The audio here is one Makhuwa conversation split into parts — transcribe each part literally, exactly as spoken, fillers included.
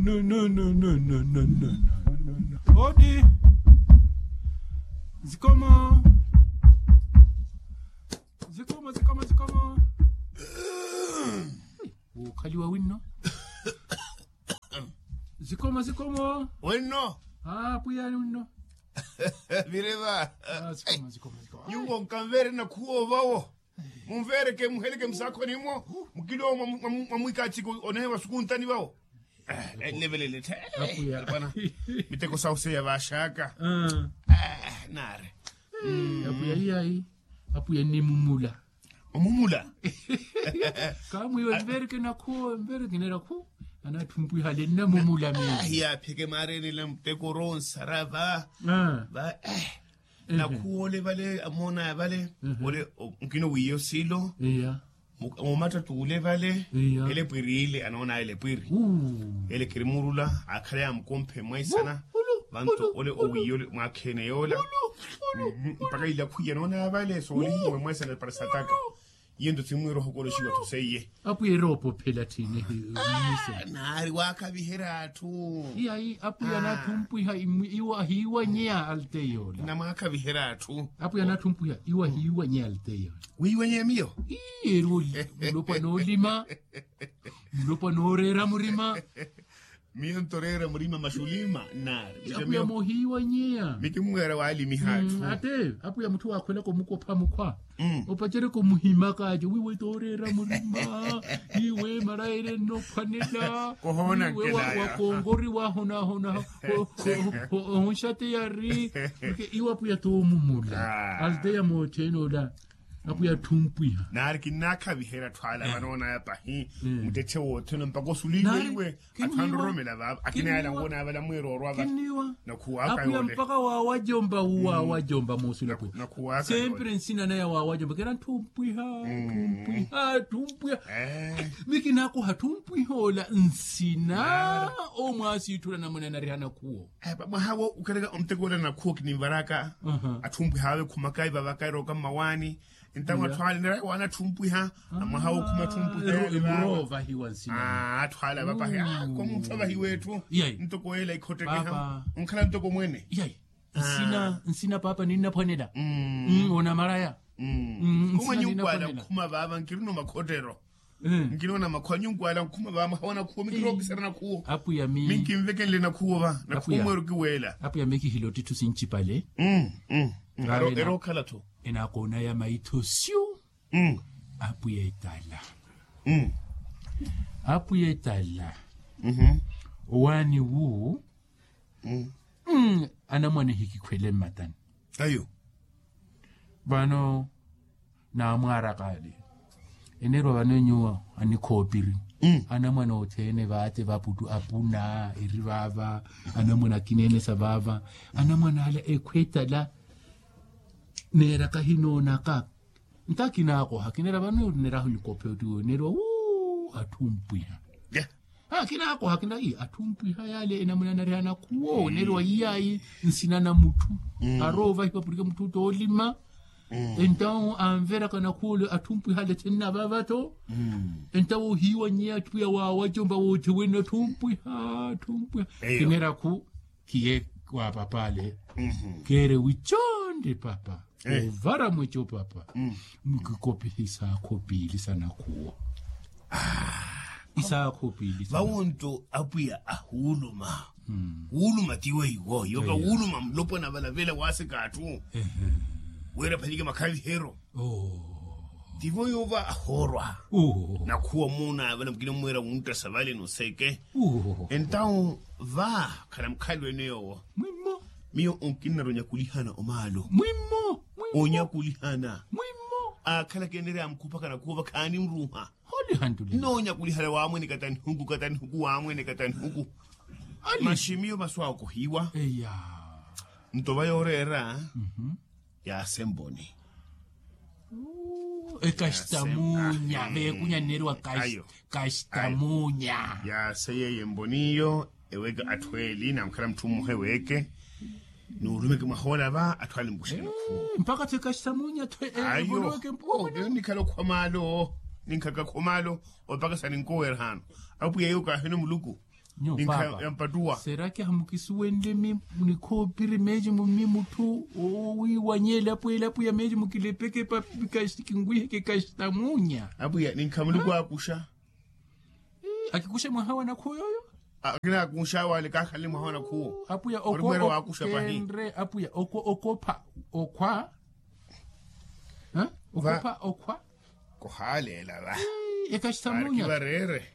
No, no, no, no, no, no, no, no, no, no. Odi. Zikomo. Zikomo, zikomo, zikomo. Ukhaliwa winno. Zikomo, zikomo. Winno. Ah, pwiyani winno. Vireva. Ah, zikomo, zikomo, zikomo. Nyuwo nkamvere na khuwo vawo. Mumvereke muheleke musakho nimwo. Mukilo mwamwikatsiko onehe wasukuntani vawo. Levelele tha. Apwiya. Miteko sauseya vashaka. Nare. Apwiya iyayi. Apwiya nimumula. Omumula. Kamwiwe mvereke nakhuwo mvereke nerakhu. Anathumpwihale nnamumula mimi. Hiyapheke marenela muteko ronsara va. Va. Nakhuwa ole vale amoonaya vale. Ole nkino wiiya osilo. Mumatta t'ule vale. Ele epwiri ile anoonaya ele epwiri. Ele kirimurula akhala yamukomphe mwaisana. Vanto ole owiiya ole mwakhene yoola. Mpaka ilakhwiya anoonaya vale soolihiwe mwaisana para sataka. Iyo nto simwiira ohokoloxiwa tho seiye. Apwiya eroopophela tthini. Naari waakhaviherya atthu. Iyayi apwiya anaathumpwiha. Ahiiwanyeya alteya ola namwaakhaviherya atthu. Apwiya anaathumpwiha iwo ahiiwanyeya alteya ola. Wiiwanyeya miyo. Iyeru. Mulopwa noolima. Mulopwa nooreera murima. Miyo nto oreera murima maxulima nnaari. Apwiya moohiiwanyeya. Mikimmweera waalimiha atthu. Ate apwiya mutthu waakhwelaka omukopha mukhwa. Opacereke omuhimaka ace wiiwe tooreera murima. Iwe marayere nnophwanela. Iwe wakongori wahonahona. Ohunxateyari. Iwe apwiya toomumula alteya moothene ola. Apwiya atthumpwiha. Naari kinnaakhaviherya atthu ala vanoonaya pahi. Muttetthe wothene mpaka osuliwe iwe. Atthu anroromela vaava akina yala nwoona avala mweeroorwa va. Nakhuwaaka yoole mpaka waawajomba wuwaawajomba moosula pwe. Sempre nsina naya waawajomba kera ntthumpwiha. Tthumpwiha tthumpwiha. Mikinaakoha tthumpwiha ola nsina. Omwaasiitthula namuna enariha nakhuwo. Mwaha wo ukereka omuteko ola nakhuwo kinimvaraka. Atthumpwiha awe khumakayi vavaka erooka mmawaani. Entawo atthu ale nerayi waana atthumpwiha. Amwaha wokhuma atthumpwiha. Atthu ale avapahe. Komutthu avahiwa etthu. Ntoko ela ikhottekeha onkhala ntoko mwene. Nsina nsina paapa ninnaphwanela. Onamaraya. Komwe nyukwala nkhuma vaava nkirina omakhottero. Nkinoona makhwa nyukwala nkhuma vaava mwaha wa nakhuwo mikirookisera nakhuwo. Minkinvekenle nakhuwo va nakhuwo mweero kiweela. Apwiya mikihilotti tthu sincipale. Erookhala-tho. Enaakoonaya maitho syu. Apwiya etala. Apwiya etala. Owaani wu. Anamwane hikikhwele mmatani. Vano naamwaaraka ale. Enerwa vano nyuwo anikhoopiri. Anamwane othene vaate vaputtu apuna eri vaava. Anamwane akineenesa vaava. Anamwane ala ekhwa etala. Neeraka hinoonaka. Nto akinaakoha kinera vano neraho nikophe otti weyo nerwa wuu atthumpwiha. Akinaakoha kinera ii atthumpwiha yaale enamuna nariha nakhuwo nerwa iyaayi. Nsina na mutthu aroovahiwa purike mutthu toolima. Entawo anveraka nakhuwo ole atthumpwiha ale thenna vaava-tho. Entawo ohiiwanyeya atthu ya waawajomba woothi wene atthumpwiha atthumpwiha. Kinera khu khiye wa papa ale. Keere wichonde papa. Ovara mwecho papa. Mukikopiha isaakho piili sa nakhuwo. Isaakho piili sa vawo nto apwiya ahuuluma. Wuuluma tiwo iwo yoka wuuluma mulopwana valavela waaseka atthu. Weera phalike makhaviheryo. Tivo yova ahoorwa. Nakhuwa muuna vana mukina mweera wunttasa vale noseke. Entawo va khala mukhalwene yowo. Miyo onkinnara onyakulihana omaalo. Onyakulihana. Aakhalaka enereya amukhupaka nakhuwa va khaanimruha. Noonyakulihana waamwene katanihuku katanihuku waamwene katanihuku. Maxi miyo vasu awo kohiwa. Nto va yooreera. Yaasa emboni. Ekastamunya veekunya nneriwa. Kastamunya. Yaasa yeeyo emboniyo eweeke atthu eeli namukhala mutthu mmoha eweeke. Nuulumeke mwahoola va atthu ale mbuxene khu. Mpaka tthi kastamunya tthi. Ayo. Eyo nikhala okhwa maalo. Ninkhaka khwa maalo opaka sa ninkoweerahano. Apwiya yo kaahino muluku. Ninkha yampattuwa. Seraki hamukisuwenle mi nikhoopiri meecimu mi mutthu owiiwanyeela apweela apwiya meecimu kilepeke papi kinwiheke kastamunya. Apwiya ninkha muluku akuxa. Akikuxe mwaha wa nakhuwo yooyo. Akina akuxa wale kakhalele mwaha wa nakhuwo. Apwiya okwa okhenre apwiya okwa okopha okhwa. Okopha okhwa. Kuhaaleela va. Ekastamunya. Vareere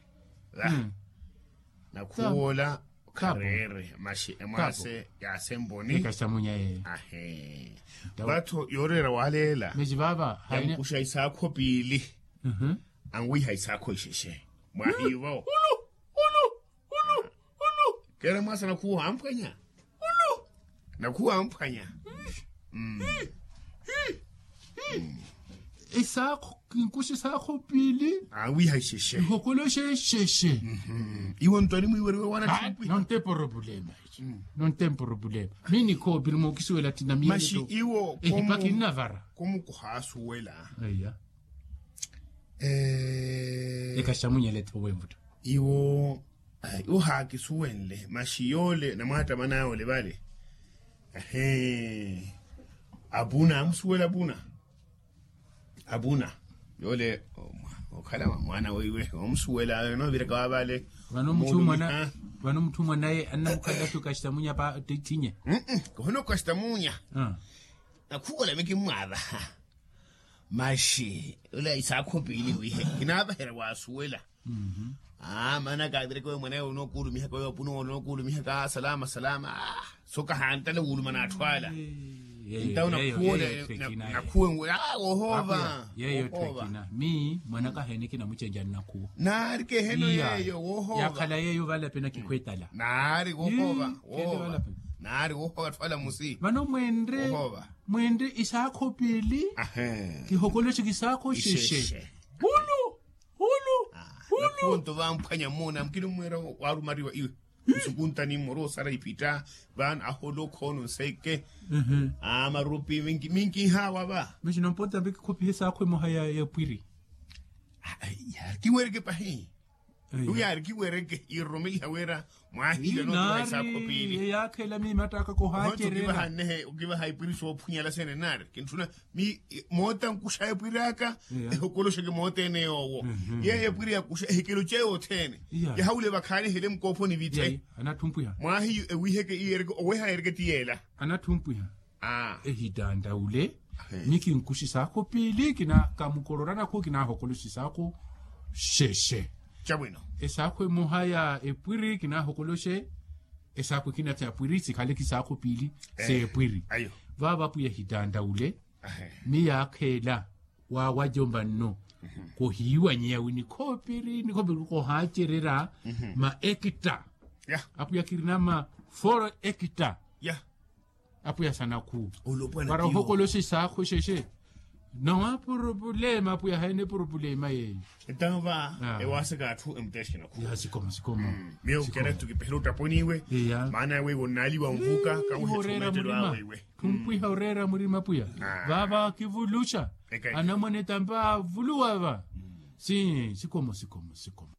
va. Nakhuwoola khareere maxi emwaase yaasemponi. Ekastamunya yeeyo. Ahe. Vatho yooreera waaleela. Meji vaava haina. Yankuxa isaakho piili. Anwiiha isaakho ixexe mwahiivo. Ulu ulu ulu ulu. Keera mwaasa nakhuwa amphwanya. Ulu nakhuwa amphwanya. Esaakho kinkuxa esaakho piili. Awiiha ixexe. Ihokoloxe exexe. Iwe ntwani mwiweriwe wana thimpwiha. Nonte poropulema. Nonte mporopulema. Minikhoopiri mookisuwela ttina miyeneto. Maxi iwo ehipaki nnavara. Komu kuhaasuwela. Ekaxamunyele etthowe envutta. Iwo ohaakisuwenle maxi yoole namwaattamana yole vale. Ahee. Apuna amusuwela apuna. Apuna yoole okhala mwaana weiwe omusuwela nooviraka wa vale. Vano mutthu mwanaye annamukhalelaxu kastamunya pa ttinye. Kohono kastamunya. Nakhuwola mikimmwaava. Maxi ula isaakho piili wiihe kinaavaherya waasuwela. Aa maana kaavireke oyo mwaneyo onookuulumihaka oyo apuna onookuulumihaka salama salama. Sookahanttale wuulumana atthu ala. Entawo nakhuwe. Wohoova. Yeeyo tthekina mi mwanaka heene kinamucenjani nakhuwa. Naari keheno yeeyo wohoova. Yaakhala yeeyo valapena kikhwettala. Naari wohoova. Naari wohoova atthu ala musi. Vano mwenre isaakho piili. Kihokoloxe kisaakho ixexe. Ulu ulu. Ulu. Nakhunto vamphwanya muuna mukini mmwira waarumariwa iwe. Nsukuntani mmoro osara ipitta. Vano ahola okhoona onseke. Amarupi minkihawa va. Mixi nompota mpe kikhopihe saakho emoha ya pwiri. Yaari kiwereke pahi. Yaari kiwereke iiroromeliha wira. Mwaahile nookivaha isaakho piili. Eyaakhela miimattaka kohaacerela. Okivaha ipwiri soophwanyala sene naari kintthuna. Moota nkuxa epwiri aka ehokoloxeke mootene yoowo. Yeeyo epwiri yakuxa ehikelo ceeyo othene. Yahawule vakhaani ehele mukoophoni vithe. Mwahiyu ewiheke iyeereke oweha yeereke ti yeela. Anatthumpwiha. Ehittanttawule. Mikinkuxa isaakho piili kinakamukororanakhu kinaahokoloxa isaakho. Xexe. Esaakho emoha ya epwiri kinaahokoloxe. Esaakho ekina sa pwiri sikhaleke isaakho piili. S'epwiri. Vaavo apwiya ehittanttawule. Miyo akheela waawajomba nno. Kohiiwanyeya wi nikhoopiri nikhoopiri kohaacerera. Ma ekita. Apwiya kirina ma foro ekita. Apwiya sanakhu para ohokoloxa isaakho xexe. Nawa purupulema apwiya haene purupulema yeeyo. Entawo va ewaaseka atthu emutexina khu. Sikoma sikoma. Miyo kera ttukipehela ottaponiwe. Maana weiwe onnaaliwa onvuka kawehe etthumettelo awe iwe. Thumpwiha oreera murima apwiya. Vaava kivuluxa. Anamwane tampa avuluwa va. Sikoma sikoma sikoma.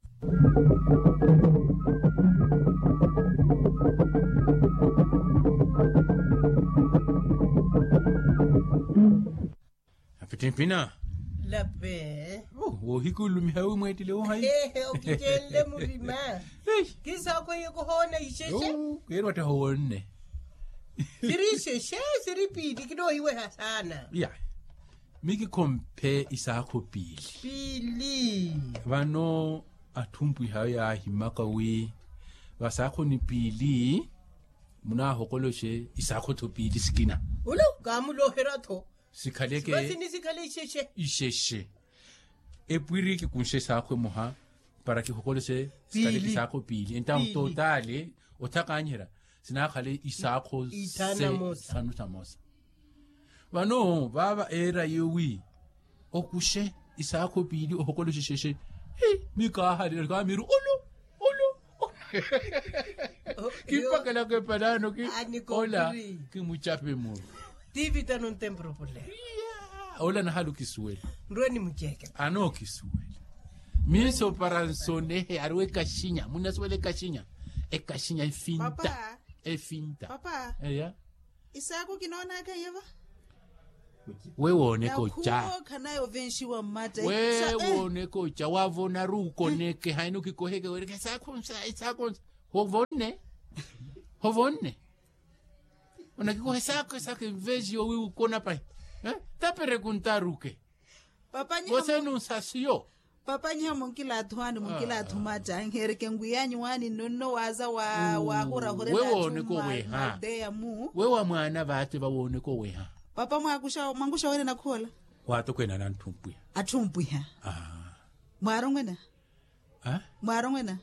Apittimpina. Lape. Woohikulumiha wi mweettile wohayi. Okicenle murima. Kisaakho hiyo kuhoona ixexe. Keeri watteha owoonne. Siri ixexe siri piili kinoohiweha saana. Iya. Mikikhomphe isaakho piili. Piili. Vano atthumpwiha ayo yaahimaka wi vasaakhoni piili munaahokoloxe isaakho-tho piili sikina. Ulu kaamuloherya-tho. Sikhaleke. Sivasi ni sikhale ixexe. Ixexe. Epwiri kikunxe saakho emoha para kihokoloxe. Sikhale isaakho piili entawo totaale othakanyihera sinaakhale isaakho. Ithanu thamosa. Vano vaava eera iyo wi okuxe isaakho piili ohokoloxe ixexe. Hi mikaahalelo kaamiiru ulu ulu. Kimpakelaka epalaano ki ola kimucape muru. Tivita nontempropule. Ola nahala okisuwela. Nrwe nimuceke. Anookisuwela. Miiso para nsonehe ariwe ekaxinya munasuwela ekaxinya. Ekaxinya efinta. Efinta. Eya. Isaako kinoonaka yeva. We wooneka oca. Nakhuwa okhanaye ovenxiwa mmatta. We wooneka oca wavonaru ukoneke haini okikoheke wereke esaako nsa esaako nsa. Hovonne? Hovonne? Onakikoha esaako esaako envenxiwa wi ukona pahi. Taperekuntaruke. Papa nyiha. Woseni unsasiyo. Papa nyiha munkilaathu waani munkilaathu matta nhereke nwiyanyu waani nonno waaza. Wahurahurela athu mmaldeya mu. Wewa mwaana vaate vawooneka oweha. Papa mwankuxa wene nakhuwola. Waatokweene ana antthumpiha. Atthumpiha. Mwaarongwena. Mwaarongwena.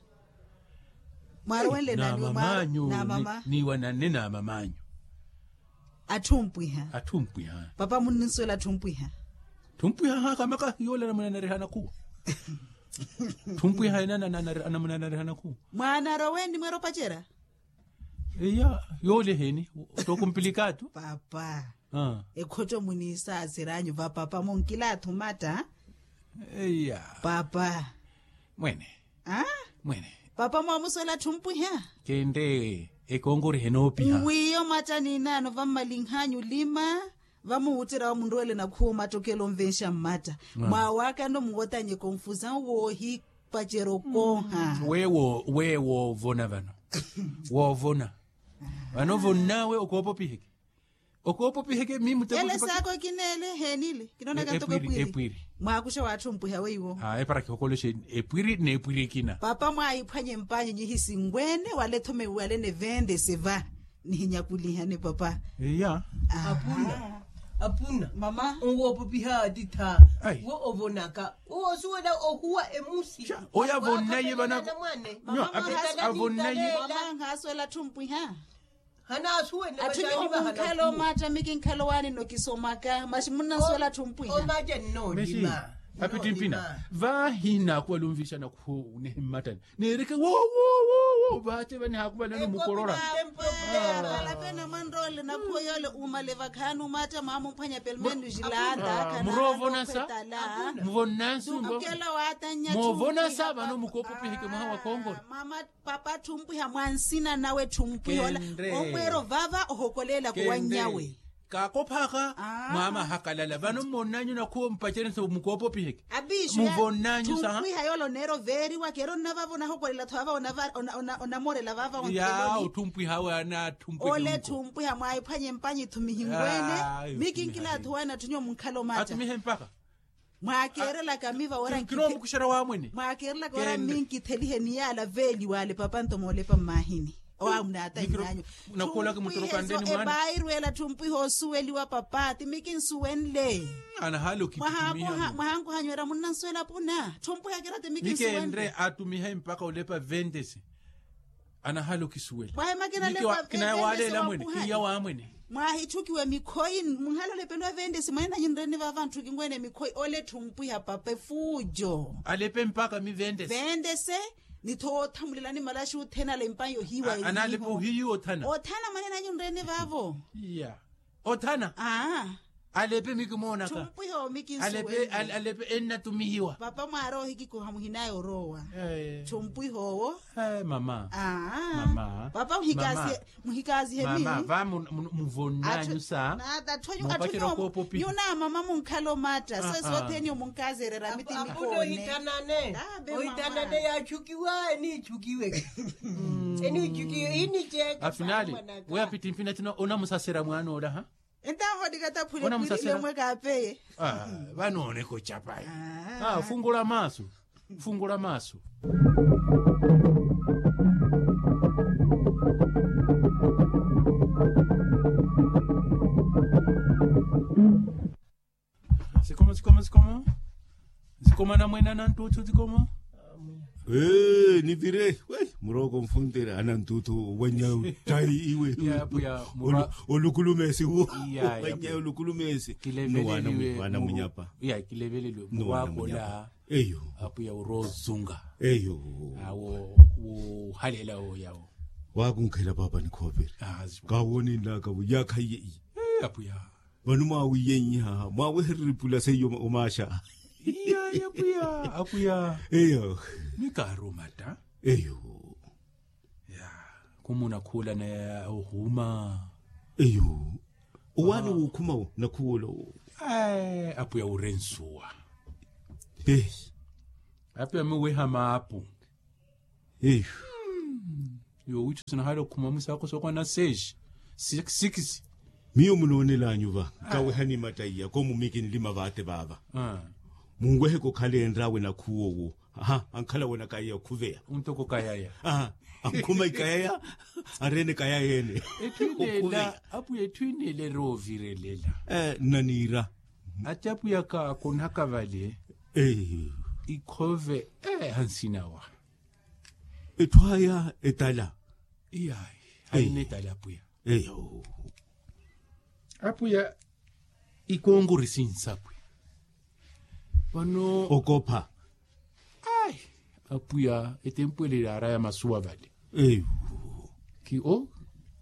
Mwaarongwenle nani? Namamaanyu. Niiwananne namamaanyu. Atthumpiha. Atthumpiha. Papa munninsuwela atthumpiha. Atthumpiha hakamaka yoola anamunanariha nakhuwa. Atthumpiha ene anamunanariha nakhuwa. Mwaanarowe ni mwero pacerya. Iya. Yoola eheeni. Tookumpilikaatu. Papa. Ekhotto muniisaasiranyu va papa munkilaathu matta. Iya. Papa. Mwene. Mwene. Papa mwaamusuwela atthumpiha. Kente. Ekonkoriha enoopiha. Nwiiyo matta niinaano vammalinhanyu olima. Vamuwutterya wamunrowelela nakhuwa omattokela onvenxa mmatta. Mwaawaka nno muwotanye konfusawu woohipacerya okooha. Wewo woovona vano. Woovona. Vano ovonn'awe okoopopiheke. Okoopopiheke miimutteko. Ele saako kineele heenile kinoonaka ntoko epwiri. Mwaakuxa waatthumpwiha weiwo. Epara kihokoloxe epwiri n'epwiri ekina. Papa mwaahiphwanye mpanyu nyihisinwene wala ethomewiwalene ventese va. Nihinyakulihane papa. Iya. Apuna. Apuna mama. Onwoopopiha atittha. Wo ovonaka wo osuwela ohuwa emusi. Oyo avonnaye vana. Avonnaye. Mama nhaasuwela atthumpwiha. Atthu nyo munkhala omatta mi kinkhala owaani nno kisomaka maxi munnansuwela atthu mpwiha. Maxi apittimpina. Vaahi nnaakuvala onvixa nakhuwo nihi mmattani neereke woowo. Vaace vanihaakuvalani omukorola. Alape namwanroole nakhuwo yoole uumale vakhaani omatta mwaamumphwanya pelmenu xilaata. Muroovonasa. Muvonnansu. Moovonasa vano mukoopopiheke mwaha wa konkora. Papa atthu mpwiha mwa nsina nawe atthu mpwiha ola. Omweero vava ohokoleelaka owanyawe. Kaakophaka mwaamahakalala vano mmonnanyu nakhuwa ompacerense mukoopopiheke. Muvonnanyu saha. Tthu mpwiha yoola oneera oveeriwa keera onnavava onahokolela tho vava onamorela vava ontheloni. Tthu mpwiha awe ana tthu mpwiha. Ole tthu mpwiha mwaahiphwanye mpanyi tthumihimbwene. Mi kinkila atthu waani atthu nyuwo munkhala omatta. Mwaakeerelaka miva wara nkithe. Mwaakeerelaka wara minkithelihe ni yaala veeliwaale papa nto moolepa mmaahini. Owaamuna ata inyanyu. Epaayi rweela tthu mpwiha osuweliwa papa ti mi kinsuwenle. Mwahankohanyu era munnansuwela puna tthu mpwiha kira ti mi kinsuwenle. Attumihe mpakha olepa ventesi. Anahala okisuwela. Mwahimakina lepa ventesi wakuhani. Mwahitthukiwa emikhoyi munhala olepeliwa ventesi mwanenanyu nreni vava ntthukinwene emikhoyi ole etthu mpwiha papa efuujo. Alepe mpakha mi ventesi. Ventesi. Ni tho othamulelani malaxi othena ala empanyi ohiiwa. Analepe ohiiwa othana. Othana mwanenanyu nreni vavo. Iya. Othana. Alepe mi kimoonaka. Alepe ennatumihiwa. Papa mwaari ohikikoha muhinaya oroowa. Tthu mpwiha owo. Mama. Papa muhikaasihe. Muhikaasihe mi. Muvonnanyu sa. Mupacerya okoopopiha. Nyuna mama munkhala omatta sesi othene omunkaazerera miti mikoone. Ohitanane. Ohitanane yaatthukiwa eniitthukiwe. Eniitthukiwe iiniceeka. Afinali. We apittimpina tino onamusasera mwaan'ola ha. Entaho nikataphule pwirili omwe kaapeye. Vanooneka ocapaya. Fungula maasu. Fungula maasu. Sikoma sikoma sikoma. Sikoma namwene ananttuthu sikoma. Ee nivire. Murooko nfuntere ananttuthu owanyawe ottayi iwe. Olukulumeesi wo. Owanyawe olukulumeesi. Nuwaana munyapa. Eyo. Apwiya oroozunga. Eyo. Awo. Wuhalela oyawo. Wakunkhela papa nikhoopere. Kawoninlaka vo yakhaiye iye. Apwiya. Vano mwaawiyenyiha mwaawehereripula seiyo omaaxa. Iya apwiya apwiya. Eyo. Mikaaruma ta. Eyo. Ya. Khumuuna khuula naye ohuma. Eyo. Owaani wuukhuma wo nakhuwola owo. Apwiya wurensuwa. Apwiya muweha maapu. Eyo. Yoowitthu sinahaala okhuma mwisaakho sookwana seeshi sikisi. Miyo munoonel'anyu va nkawehani mattaiya koomu mikinlima vaate vaava. Munweheke okhala enr'awe nakhuwowo. Aha ankhala wonakaya okhuveya. Ontoko kayaya. Aha ankhuma ikayaya. Areene kayaya ene. Etthu ineela. Apwiya etthu ineela eroovirelela. Nnaniira. Ati apwiya kaakonaka vale. Ikhove. Hansinawa. Etthu aya etala. Iyayi. Haina etala apwiya. Eyo. Apwiya. Ikonkori sinsapwi. Vano okopha. Ayi. Apwiya etempwelele araya masuwa vale. Eyo. Ki o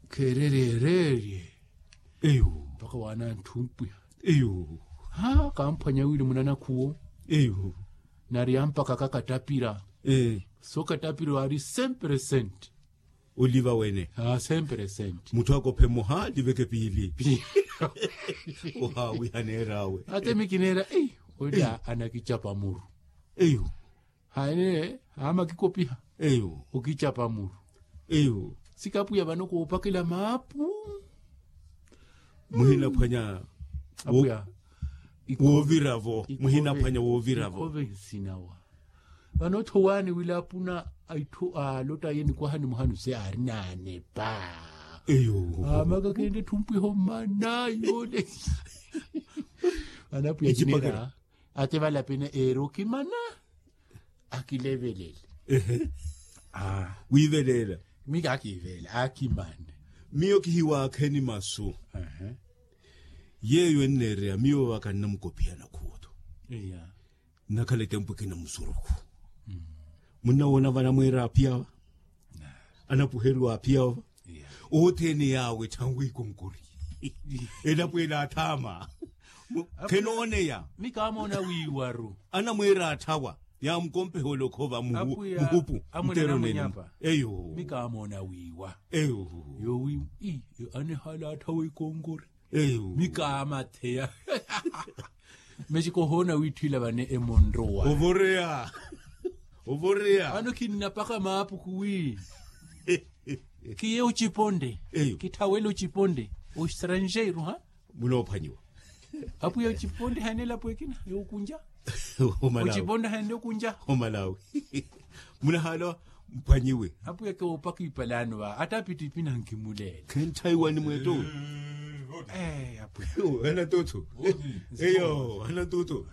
kheerereererye. Eyo. Mpakha waana anthumpwiha. Eyo. Ha kamphwanya wili munanakhuwo. Eyo. Nari ampakaka katapira. Ee. So katapira waari cem percent. Oliva wene. Mutthu akophe mmoha liveke piili. Ohaawiha neer'awe. Ate mikineera ei. Oli anakicapa muru. Eyo. Haene hamakikopiha. Eyo. Okicapa muru. Eyo. Sikapwiya vano koopakela maapu. Muhinaphwanya. Apwiya. Wooviravo muhinaphwanya wooviravo. Ikhove nsinawa. Vano ottho waani wila apuna a itthu aalottaye nikwaha ni muhanu se aari naanepa. Eyo. Amaka kende etthu mpwiho mmana yoole. Vano apwiya kinera. Ate valapene eeri okimana. Akilevelele. Wiiveleela. Mi kaakiiveela akimane. Miyo kihiwaakheni masu. Yeeyo enneereya miyo vaka nnamukopiha nakhuutho. Nnakhala etempu ekina musurukhu. Munnawoona vanamweera aphiyava. Anapuheriwa aphiyava. Othene yaawe thanwi ikonkori. Elapo ela athaama. Khenooneya. Mi kaamoona wiiwaru. Anamweera atthawa. Yaamukompeha olokhova muhupu. Nteero nenyu. Eyo. Mi kaamoona wiiwa. Eyo. Yoowi. Anehala atthawa ikonkori. Eyo. Mi kaamatheya. Mexiko ohoona wiitthwila vane emonrowa. Ovoreya. Ovoreya. Vano khinnapaka maapuku wi. Khiye ociponde. Eyo. Kitthawele ociponde. Oestrangeiro ha. Munoophwanyiwa. Apwiya ociponde haene elapo ekina yookunja. Ociponde haene okunja. Omalawi. Munahaala mphwanyiwe. Apwiya koopaka ipalaano va ata apitipina nkimuleela. Khentthayiwani mweetto. Anatuthu. Eyo anatuthu.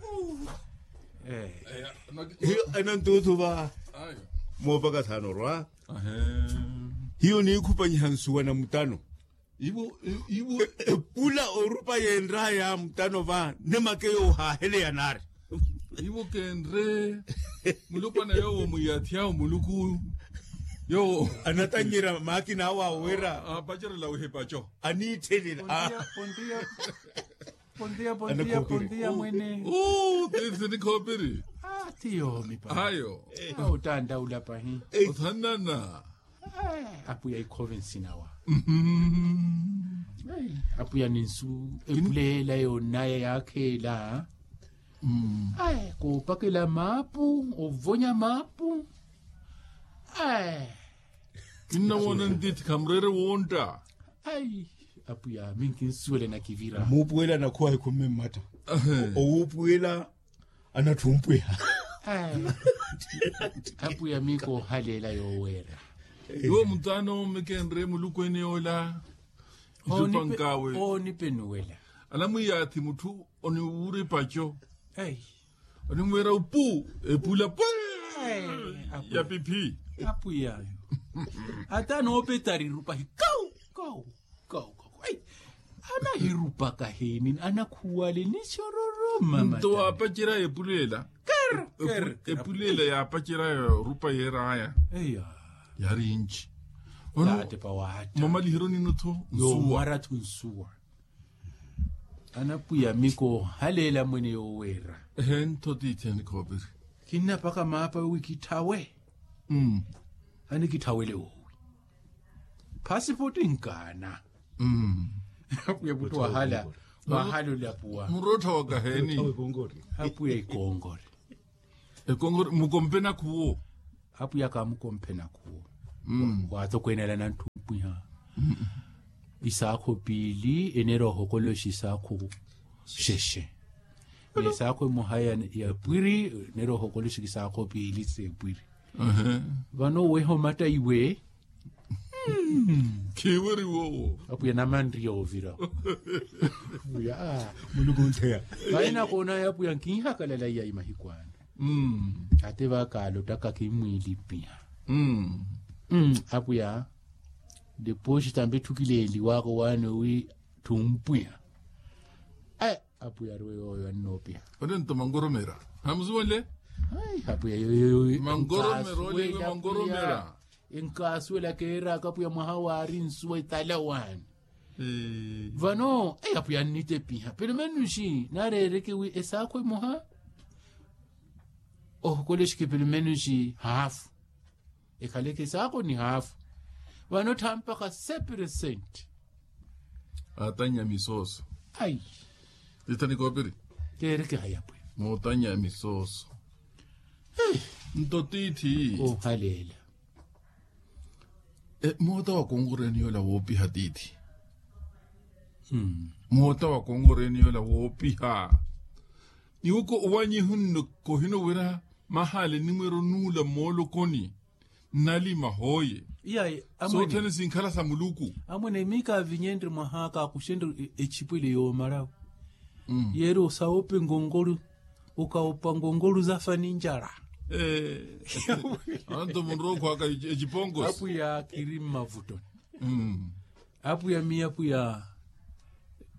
Hiyo anantuthu va. Moopaka thaano orwa. Hiyo niikhupanyiha nsuwa na mutano. Ivo ivo. Epula orupa yenraya mutano va nemake yoohaheleya naari. Ivo kenre. Mulupwana yowo mwiyathi awo muluku. Yowo anatannyira maakina awo awo wira. Apacerela wihipaco aniitthelila. Pontiya pontiya pontiya mwene. Tithi nikhoopiri. Ti yoomi pahi. Ayo. Otandaula pahi. Othanana. Apwiya ikhove nsinawa. Apwiya ninsu epuleela yoonaya yaakheela. Koopakela maapu ovonya maapu. Kinnawoona ntiithi khamureere wontta. Apwiya minkinsuwela nakivira. Muupuwela nakhuwa hikhumme mmatta. Owuupuwela anatthumpwiha. Apwiya miiko ohaleela yooweera. Iwo mutano mikenre muluku ene yoola. Icupankawe oonipenuwela. Anamwiyaathi mutthu oniwuripaco. Onimweera upu epula pwe. Ya piphi. Apwiya. Ata anoopetari rupahi kau kau. Kau kau. Anahirupaka heni anakhuwale nichororoma nto waapacerya epulela. Epulela yaapacerya rupa yeeraya. Yaari nci. Ono. Mwamaliheryo nino tho nsuwa. Anapwiya miko haleela mwene yooweera. Ehe ntho tiithi anikhoopiri. Kinnapaka maapa wi kitthawe. Anikitthaweele woowi. Phasipotti nkaana. Apwiya muttu wahala wahala olapuwa. Murottha wakaheeni? Apwiya ekongore. Ekongore mukompe nakhuwo. Apwiya kamukompe nakhuwo. Waathokweenela nantthumpiha isaakho piili eneera ohokoloxa isaakho xexe. N'esaakho emoha ya pwiri eneera ohokoloxa isaakho piili s'epwiri. Vano oweha omatta iwe. Khiwiri wowo. Apwiya namanriya ovira. Muluku ontheya. Vayi nakoona apwiya nkinhakalala iya imahiku ano. Ate vakaalottaka kimmwiilipiha. Apwiya deposi tambi etthukileeliwaka owaani owi thumpwiha. Apwiya ariwe yooyo annoopiha. Onento mangoromera hamusuwenle. Apwiya yoyo mangoromera. Enkasuwela keeraka apwiya mwaha waari nsuwa etala waani. Vano apwiya annitepiha pelomenuxi naareereke wi esaakho emoha. Ohokolexeke pelomenuxi haafu. Ekhaleke esaakho ni haafu. Vano tthaampakha seperesenti. Atannya misooso. Ai. Titha nikoopiri. Keereke hayapwe. Mootannya misooso. Nto tiithi. Ohaleela. Moota wa konkoreeni yoola woopiha tiithi. Moota wa konkoreeni yoola woopiha. Iwoko owanyihu nno kohino wira mahaale enimweero nuula moolokoni. Nnalima hooye. Sothene sinkhala sa muluku. Amwene miika avinyenre mwaha kaakuxenre echipwele yoomarawe. Yeeri osawoopa enkonkolu. Okawopa nkonkolu zafa ni njala. Anto munrowa okhwaka eciponkosi. Apwiya kiri mmavutoni. Apwiya miya apwiya.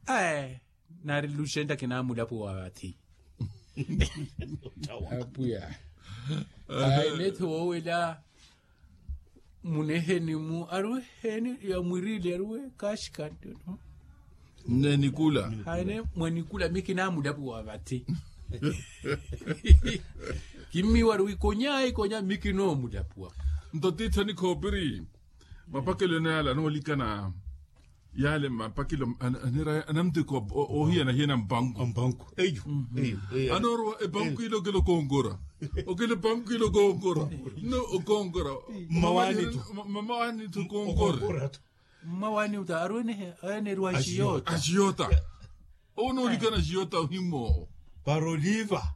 Ae. Naari luxenta kinaamulapuwa vathi. Apwiya. Ae nethi woowela. Muneheni mu ariwe heni ya mwirili ariwe kaxikanteno. Nnenikula. Haine mwenikula mi kinaamulapuwa vathi. Kimmiiwa ariwe ikonya ikonya mi kinoomulapuwa. Nto tiithi anikhoopiri. Mapakelo ene yale anoolikana. Yale mapakelo anamtiko ohiyana hiyana mpanku. Mpanku eyo. Anoorowa epanku ile okela okonkora. Okela epanku ile okonkora. No okonkora. Mmawaani tu. Mmawaani tu okonkora. Mmawaani uta arwenehe aweneeriwa axiyota. Axiyota. Onoolikana axiyota ohimoowo. Para oliva.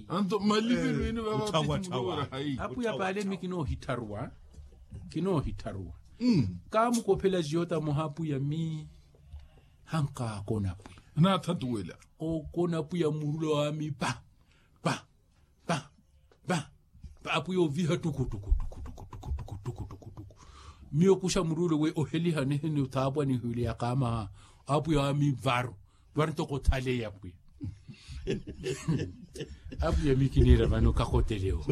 Anto malivi lwini vavapitimulowera hayi. Apwiya paale mi kinoohitharuwa. Kinoohitharuwa. Kaamukophela axiyota moha apwiya mi. Hankaakona apwiya. Naathatuwela. Okona apwiya murulo waami pa pa pa pa. Apwiya oviha tuku tuku tuku tuku tuku tuku tuku tuku tuku. Miyo okuxa murulo we oheliha niheni othaapwa nihwile yakaamaha. Apwiya waami varu. Varu ntoko othaleya apwiya. Apwiya mi kiniira vano kakotelewo.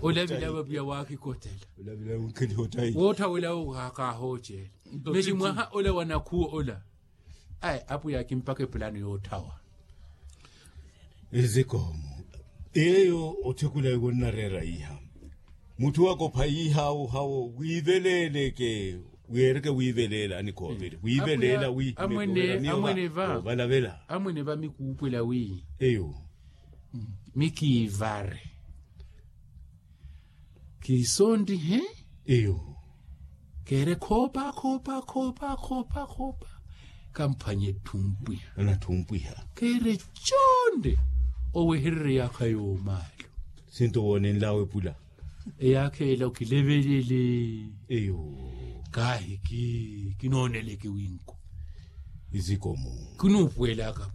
Olavila apwiya waakikotela. Woothawela owo kaahooceela. Mesi mwaha ola wa nakhuwo ola. Ayi apwiya akimpaka epulano yootthawa. Ezikoomo. Eyo otthekula ewo nnareera iha. Mutthu wakopha iha awo hawo wiiveleeleke. Weereke wiiveleela anikhooviri wiiveleela wi. Amwene va amwene va mi kuukwela wi. Eyo. Mi kiivare. Kiisonrihe. Eyo. Keere khoopa khoopa khoopa khoopa khoopa. Kamphwanye etthumpwiha. Anathumpwiha. Keere conde. Owehererye yaakha yoomaalu. Sinto woonenlawe pula. Eyaakha ela okilevelele. Eyo. Kaahi kinooneleke winko. Isikomu. Kinuupuwelaka.